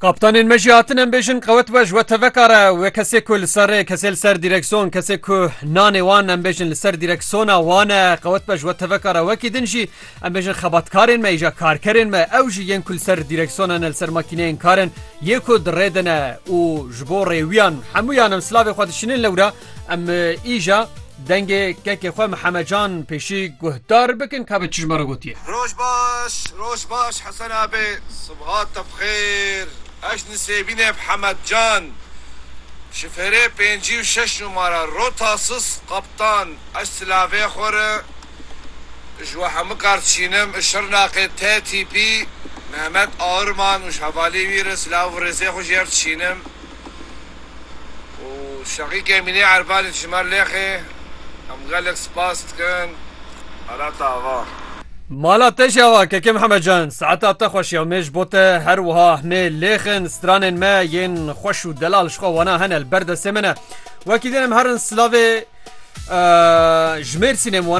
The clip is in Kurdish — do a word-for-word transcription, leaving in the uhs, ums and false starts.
Kaptanên me jî hatin, em bêjin qewet be ji we teveka re, wê kesê ku li ser rê, kesê li ser dîreksiyon, kesê ku nanê wan, em bêjin, li ser dîreksiyona wan e, qewet be ji we teveka re. Wekî din jî em bêjin xebatkarên me, îja karkerên me, ew jî yên ku li ser dîreksiyona ne, li ser makîneyên kar in, yê ku di rê de ne û ji bo rêwiyan hemûyan em silavê xwe dişînin lewra, em, e, îja dengê kekê xwe Mihemed Can pêşî guhdar bikin, ka bi çi ji me re gotiye. Roj baş, roj baş Hesen abi. Sibhat te bi xêr. Ez Nisêbînê Mihemed Can. Şifêrê pêncî û şeş numara, rota sis, kaptan. Ez silavê xwe re ji we hemû kar dişînim. Şirnaqê T T P, Mehmet Ağırman û ji hevalê wî re silav û rêzê xwe ji yer dişînim. û Şeqîkê Mînê Erbanî ji me lêxê, em gelek spas dikin. Mala te ava. Mala te jî ava, kekê Mihemed Can, saeta te xweş ya, em ê ji bo te her wiha hemê lêxin, stranên me yên xweş û delal ji xwe wana hene, li ber destê me ne. Wekî din em herin silavê, e, ji Mêrsînê em wana